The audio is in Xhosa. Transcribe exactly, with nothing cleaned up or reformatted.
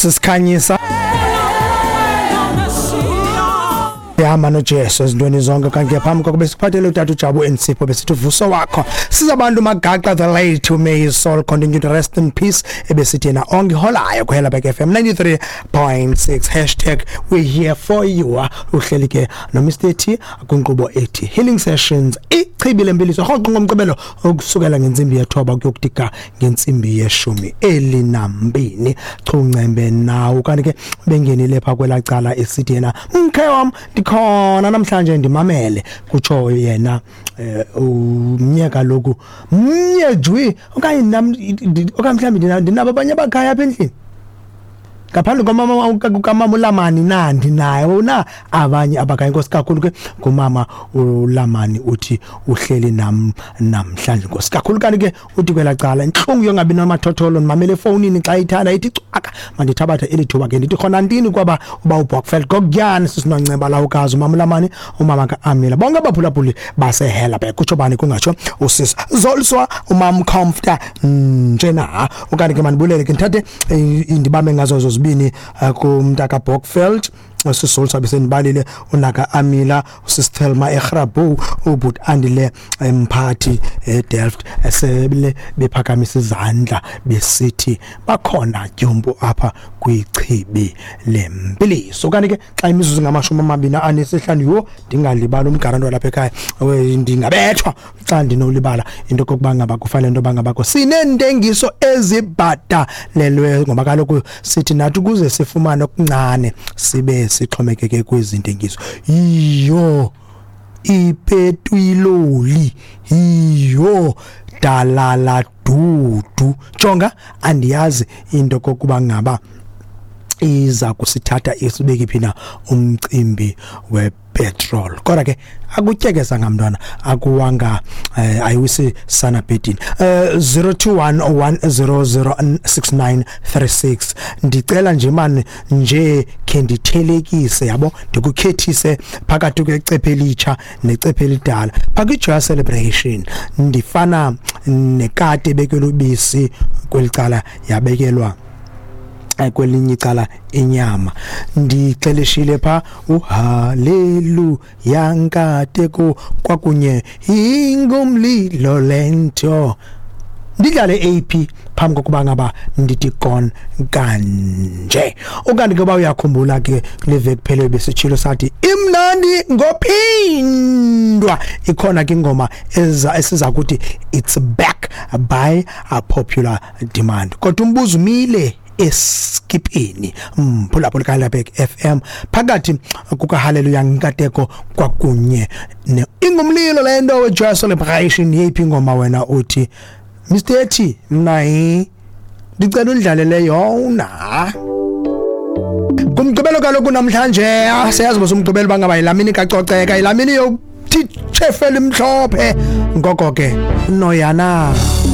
Sisikhanyisa ihamba noJesu ezintweni zonke. Kanti phambi kokuba siphathele utata uJabu Ensipho, besithi uvuso wakho sizabantu Magaqa the late, may his soul continue to rest in peace, ebesithi yena ongiholayo kuHelabek F M ninety-three point six, hashtag we here for you. Uhleli ke no Mister T kwinkqubo ethi Healing Sessions, ichibi lempiliso, rhoqo ngomgqibelo ukusukela ngentsimbi yethoba kuyokuthi ngentsimbi yeshumi elinambini. Chuncembe nawo. Kanti ke bengenile pha kwelaa cala, esithi yena, "Mkhe wam, ndikhona namhlanje, ndimamele," kutsho yena. eh, umnye kaloku, mnye jwi, okanye nam, okanye mhlawumbi ndinabo abanye abakhaya apha endlini ngaphandle kwamama, kamama uLamani na? Ndinayo na abanye abakhaya? Inkosi kakhulu ke ngumama uLamani, uthi uhleli nam namhlanje. Inkosi kakhulu. Kanti ke uthi kwelaa cala, intlungu yongabi namathotholo, ndimamele efowunini xa ithanda ithi cwaka. Mandithabathe eli thuba ke ndithi khona ntini kwaba uba uBokfeld kokuyani, sisinonceba lawukazi umama uLamani, umama ka-Amila, bonke abaphulaphuli baseHelabek, kutsho bani kungatsho usisi Zoliswa, umam Comforter njena. Okanye ke mandibulele ke, ndithathe eh, ndibambe ngazo zozibini eh, kumntaka Bokfeld, sisol sabe sendibalile, unaka Amila, usisithelma eGrabu, ubut Andile emphathi eDelft, esebele bephakamisa izandla besithi bakhona tyumpu apha kwichibi lempiliso. Kanti ke xa imizuzu ngamashumi amabini anesihlanu, yho, ndingalibala umgaranto walapha ekhaya, we, ndingabethwa xa ndinolibala into kokuba ngaba kufanele into yoba ngabakho sineentengiso ezibhatalelweyo, ngoba kaloku sithi nathi ukuze sifumane okuncane sibe sixhomekeke kwezi ntengiso. Yiyo ipetwiloli, yiyo dalala dudu. Jonga, andiyazi into kokuba ngaba iza kusithatha isibeke phi na umcimbi wepetrol, kodwa ke akutyekeza ngamntwana akuwanga, eh, ayiwisi sana bhedini. eh zero two one one zero zero six nine three six. Ndicela nje mani nje khe ndithelekise, yabo, ndikukhethise phakathi kwecephe elitsha necephe elidala phaka i-Joy Celebration. Ndifana nekati ebekelwe ubisi kweli cala, yabekelwa eh, kwelinye icala inyama. Ndixeleshile pha uhaleluya nkateko kwakunye ingumlilo lento. Ndidlale A P phambi kokuba ngaba ndithi gone kanje. Ukanti ke uba uyakhumbula ke, kule veki phele besitshilo sathi imnandi ngophindwa, ikhona ke ingoma eza esiza kuthi it's back by a popular demand, kodwa umbuzo umile eskipini, mphulaphula kaHelabek F M, phakathi kukaHaleluya Nkateko kwakunye ne ingumlilo lento weJoy Celebration, yeyiphi ingoma wena uthi, "Mister T, mna hi ndicela undlalele yona kumgqibelo"? Kaloku namhlanje, ah, siyazi bose umgqibelo bangaba yilamini kacoceka, yilamini yokuthi chefela imhlophe. Ngoko ke noyana.